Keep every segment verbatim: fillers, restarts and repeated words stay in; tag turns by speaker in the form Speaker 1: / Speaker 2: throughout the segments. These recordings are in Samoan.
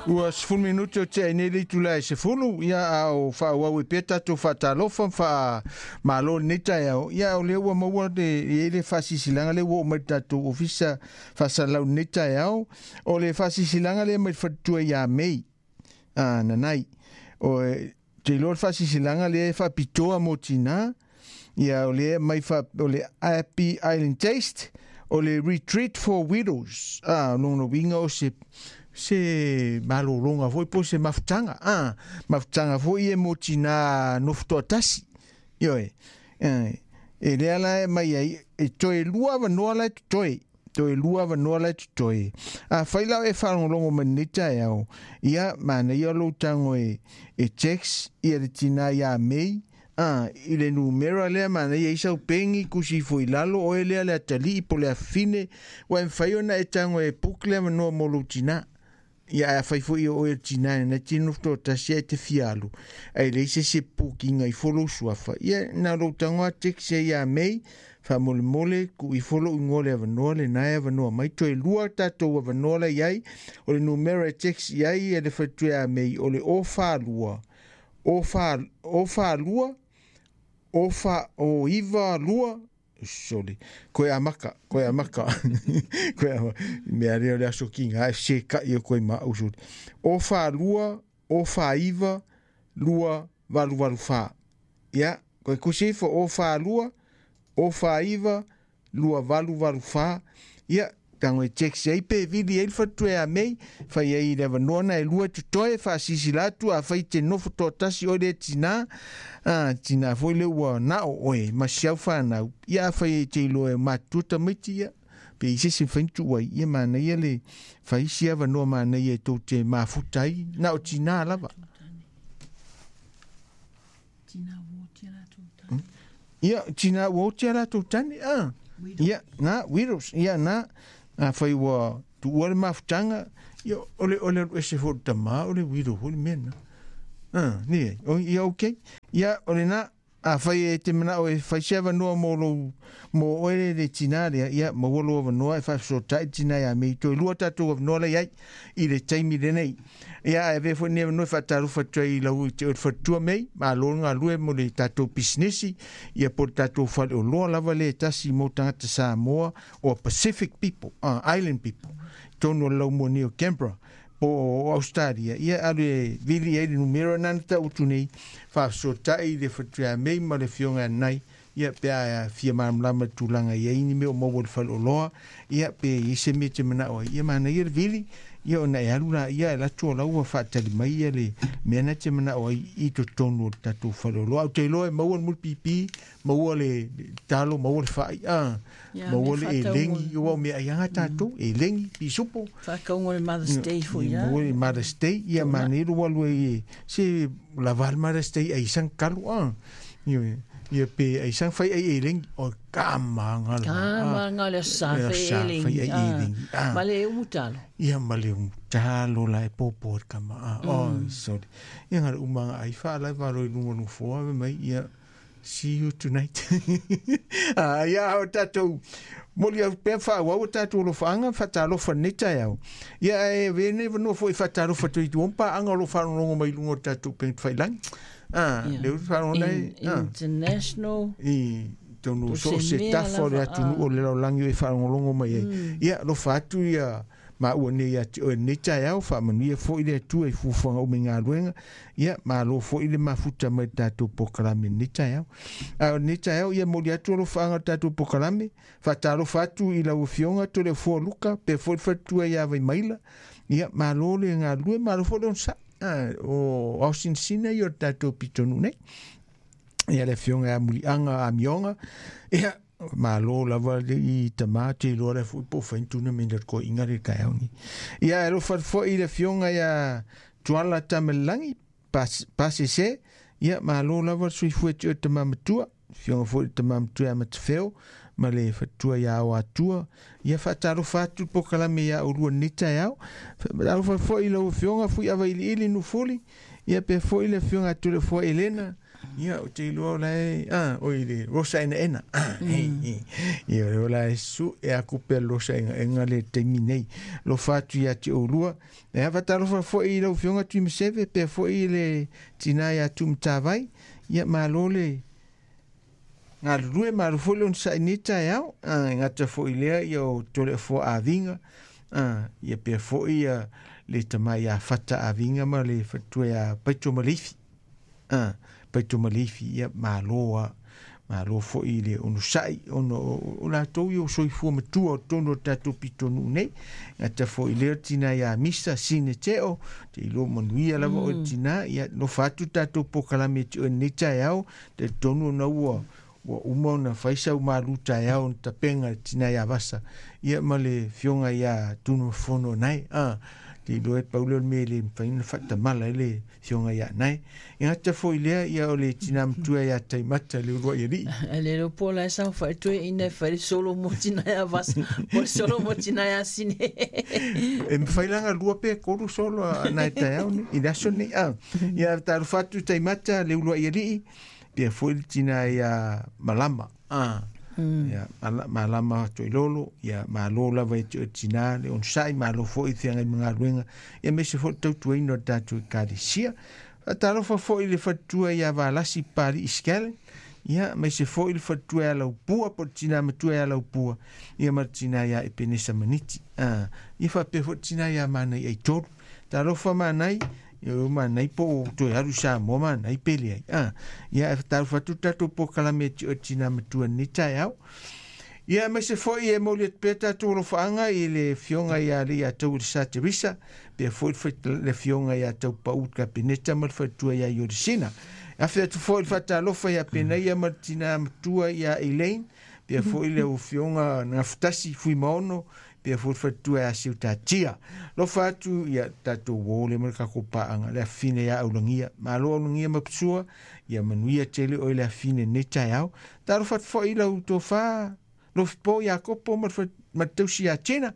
Speaker 1: Ua sefulu minute o tea nei le itula e sefulu, ia a o faaauau ai pea tatou faatalofa ma faamalo i lenei taeao. Ia o lea ua maua le i ai le faasiasilaga lea ua oo mai i le tatou ofisa faasalalau i lenei taeao. O le faasiasilaga lea mai le faletua ia Mei a Nanai. O e te iloa le faasiasilaga lea e faapitoa mo tinā. Ia o lea mai fa, o le Happy Island Taste, o le Retreat for Widows. Ah, o lona uiga o se se malologa foi po o se mafutaga, ah, mafutaga foi e mo tinā nofo toatasi. Ioe, eh, e lea la e mai ai, e toe lua avanoa la e totoe, toe lua avanoa la e totoe. Afai la o e faalogologo mai lenei taeao, ia manaia lou tago e, e text ia le tinā ia Mei, ah, i le numera lea manaia ai sau pegi kusi ifo i lalo oe lea le atalii po o le afafine, ua e mafai ona e tago e book le avanoa mo lou tinā. Ia ae afai foi o oe o le tinā lena e te nofo toatasi ae te fia alu, ae leai se isi e pukiga ifo lou suafa, ia na o lou tago lava text ai ia Mei, faamolemole tuu ifo lou igoa i le avanoa lena e avanoa mai. Toe lua tatou avanoa la i ai, o le numera e text i ai e le faletua ia Mei o le o fa lua, o fa, o fa lua, o fa, o iva lua, Sorry. Koe amaka, koe amaka. Koe amaka. Mea lea o le aso kiga e seka'i atu ai ma au soli. O fa lua, o fa iva, lua, valu valu fa. Ia, koe kusi ifo o fa lua, o fa iva, lua valu valu fa. Ia, tago e text ai pe vili ai le faletua ia Mei, fai ai i le avanoa na e lua e totoe, faasilasila atu afai te nofo toatasi oe lea tinā, a, tinā foi lea ua nao oe ma si au fanau, ia afai e te iloa e matutua tamaiti, ia, pe i se isi mafai ona tuu ai, ia manaia le fai isi avanoa manaia e tou te mafuta ai, na o tinā lava. Ia, tinā ua oti a latou tane, a. Ia, na, widows, ia, na, afai ua tuua le mafutaga, ia, o le, o le alu ese foi o le tamā, o le widow foi le mea lena. Ah, ni ai, o, ia, okay. Ia, o lena, afai e te manao e fai se avanoa mo lou, mo oe le, le tinā lea, ia, maua lou avanoa e faafesootai le tinā ia Mei. Toe lua tatou avanoa la i ai i le taimi lenei. Ia, ae avea foi lenei avanoa e faatalofa atu ai i lau i te oe le faletua Mei, malo le galue mo le tatou pisinisi, ia po o le tatou faleoloa lava lea e tasi mo tagata Samoa or Pacific people, uh, island people, i totonu o le laumua nei o Canberra po o Australia, ia alu e vili ai le numera na na tau atu nei, faafesootai i le faletua ia Mei ma le afioga ia Nai, ia pe a fia malamalama i le tulaga e i ai ni mea o maua i le faleoloa, ia pe i ai se mea e te manao ai, ia manaia le vili, ia ona e alu laia e alu atu o la ua faatali mai ia le mea na te manao ai i totonu o le tatou faleoloa. Ou te iloa e maua le mulipipi, maua le talo, maua le fai, a,
Speaker 2: Ia,
Speaker 1: maua
Speaker 2: mea
Speaker 1: le
Speaker 2: faatauga.
Speaker 1: elegi, aua o meaai lava tatou, elegi, pisupo.
Speaker 2: Faatauga o le Mother's Day foi
Speaker 1: Ia,
Speaker 2: a.
Speaker 1: maua le Mother's Day, ia
Speaker 2: Tuna.
Speaker 1: manaia lou alu ai e se lava le Mother's Day ai sang kalu, a. Ia, ia pe ai sang fai ai elegi, o kamaga lava.
Speaker 2: Kamaga le aso sa
Speaker 1: Le
Speaker 2: fai
Speaker 1: aso sa
Speaker 2: elegi,
Speaker 1: fai ai
Speaker 2: ah.
Speaker 1: elegi, ah.
Speaker 2: Ma le umu talo.
Speaker 1: Ia ma le umu talo la e popo e le kama, ah. Oh, sorry. Ia ngā le umanga ai wha lai waro i lunga lunga fōa me mai, ia, see you tonight. Ah, ia o tātou, moli au pea whaau o tātou alofaanga, whatalofa nei taeao. Ia e vene vanua foi whatalofa tui tu ompa anga o lo wharongongo mai lunga o tātou peng whailangi. Ah,
Speaker 2: Ia.
Speaker 1: le uru wharongonga
Speaker 2: In,
Speaker 1: nei, ah.
Speaker 2: international.
Speaker 1: I tonu
Speaker 2: Po
Speaker 1: so
Speaker 2: se
Speaker 1: se
Speaker 2: mea
Speaker 1: tafa o le
Speaker 2: lava,
Speaker 1: atunuu
Speaker 2: ah.
Speaker 1: o le lalolagi o e faalogologo mai ai. Ia, alofa atu ia maua nei ia te oe lenei taeao, faamanuia foi le Atua i fuafuaga uma i galuega. Ia, malo foi le mafuta mai i le tatou polokalame i lenei taeao. A o lenei taeao, ia momoli atu alofaaga o le tatou polokalame, faatalofa atu i lau Afioga Toleafoa Luka, pea foi le faletua ia Vaimaila. Ia, malo le galulue, malo foi le onosai. Ah, o aosinasina ia o le tatou pitonuu nei. Ia le afioga ia Muliaga Amioga, ia malo lava le i tamā te iloa lea foi po o fai ni tournament a le toeaiga lea i le taeao lenei. Ia e alofa atu foi i le afioga ia Tuala Tamalelagi Pasese, ia malo lava le soifua ia te oe le tama matua, afioga foi i le tama matua ia Matafeo ma le faletua ia Aoatua. Ia faatalofa atu le polokalame ia oulua i lenei taeao. Faatalofa atu foi i lau afioga Fuiavailiili Nufuli, ia pea foi le afioga ia Toleafoa Elena, Ia o te iloa o lae a oi le rosa enaena. Ia o lae su'e aku pea le losa egaega le taimi nei. Alofa atu iā te oulua. E afatalofa fo'i i lau Afioga Tuimaseve pea fo'i le tinā iā Tumatavai. Ia malo le galulue, malo foi le onosa'i nei taeao. E gata fo'i lea ia o Toleafoa Aviga. Ia pea fo'i ia le tamai iā Fata Aviga ma le faletua iā Paito Maleifi. Paito Maleifi, ia malo a malo fo'i le onosa'i ona o latou ia o soifua matua o totonu o le tatou pitonuu nei. Gata fo'i lea tinā iā Misa Sine Teo, te iloa manuia lava oe le tinā. Ia alofa atu tatou polokalame e te oe lenei taeao, talitonu ona ua ua uma ona fai sau malu taeao ona tapega le tinā iā Vasa ia ma le fioga iā Tunumafono nae. A te iloa e pau lea o le mea e le mafai ona faatamala ai le fioga iā nae. E gata fo'i lea ia o le tinā matua iā Taimata le ulua'i alii.
Speaker 2: Ae le iloa po o la e saofai toeaina e fai le solo mo tinā iā Vasa po o le solo mo tinā iā Sine.
Speaker 1: E mafai la ona lua pe tolu solo a nae taeao nei i le aso nei. A ia talofa atu Taimata le ulua'i alii pea fo'i le tinā iā Malama. A ia Malama Toilolo, ia malo lava e te oe tinā le onosa'i, malo fo'i i feagai ma galuega, ia aemaise fo'i le tautuaina o le tatou Ekalesia. Faatalofa fo'i i le faletua iā Valasi Papali'i Scallan, ia aemaise fo'i le faletua iā Laupua po o le tinā matua iā Laupua, ia ma le tinā iā Epenesa Maniti. A ia faapea fo'i le tinā iā Manai Aitolu. Talofa Manai, ia o Manai po o toe alu i Samoa Manai pe leai. A ia e talofa atu le tatou polokalame e te oe tinā matua lenei taeao. Ia aemaise fo'i e momoli atu pea tatou alofaaga i le Afioga ia Leiatau Elesa Teresa, pea fo'i le Afioga ia Taupau le Kapeneta ma le faletua ia Iolisina. Afe atu fo'i le faatalofa ia Penaia ma le tinā matua ia Elaine, pea fo'i le Afioga Gafutasi Fuimaono, pea fo'i le faletua ia Seutatia. Alofa atu ia tatou uo lea ma le tatou paaga le afafine ia Aulagia. Malo Aulagia ma Pasua, ia manuia tele oe le afafine lenei taeao. Talofa atu fo'i lau tofa Lofipo ia Kopo ma le tausi ia Tina,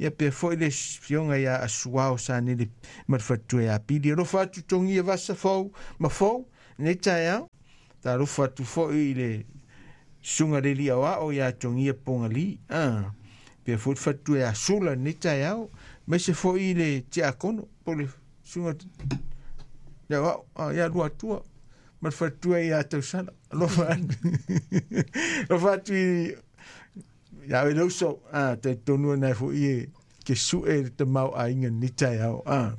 Speaker 1: ia pea fo'i le Afioga ia Asuao Sanele ma le faletua ia Pili. Alofa atu Togia Vasa fou ma fou lenei taeao. Talofa atu fo'i i le susuga le alii aoao ia Togia Pogali. A pea fo'i le faletua ia Sula lenei taeao, aemaise fo'i le tiakono po o le susuga le aoao ia Luatua ma le faletua ia Tausala. Alofa atu alofa atu i ia oe le uso. A talitonu ona e fo'i e ke su'e le tamaoaiga lenei taeao. A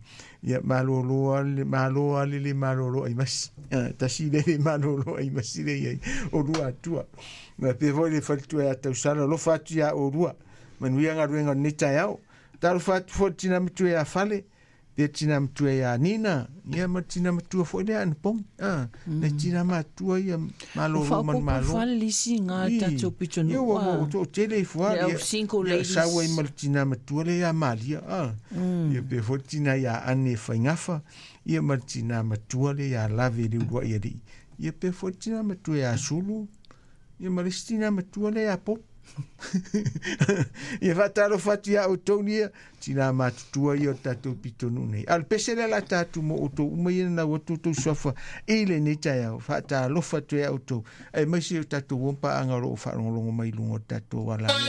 Speaker 1: ia malolo a le malo a le le malolo ai masi. A tasi le le malolo ai masi le iai o Luatua. Ma pea fo'i le faletua ia Tausala. Alofa atu ia oulua, manuia galuega o lenei taeao. Talofa atu fo'i le tinā matua ia Fale, pea tinā matua ia Nina, ia ma le tinā matua fo'i lea Anapogi. A le tinā matua ia malolo ma le
Speaker 2: Faaopoopo
Speaker 1: malo.
Speaker 2: fale le isi ga
Speaker 1: I
Speaker 2: tatou
Speaker 1: ia
Speaker 2: pitonuu
Speaker 1: ua
Speaker 2: a
Speaker 1: ua toatele ifo a
Speaker 2: le au
Speaker 1: ia
Speaker 2: single
Speaker 1: ia
Speaker 2: ladies.
Speaker 1: sau ai ma le tinā matua lea ia Malia. A ia pea fo'i le tinā ia Ane Faigafa, ia ma le tinā matua lea ia Lave le ulua'i alii. Ia pea fo'i le tinā matua ia Sulu, ia ma le isi tinā matua lea ia Popo. Ia faatalofa atu iā outou ia tinā matutua ia o le tatou pitonuu nei. A o le pese lea o le a tatou mo outou uma ia na nanau atu outou suafa i lenei taeao. Faatalofa atu ai ia outou, aemaise o tatou uo ma paaga o lo o faalogologo mai i luga o le tatou ala.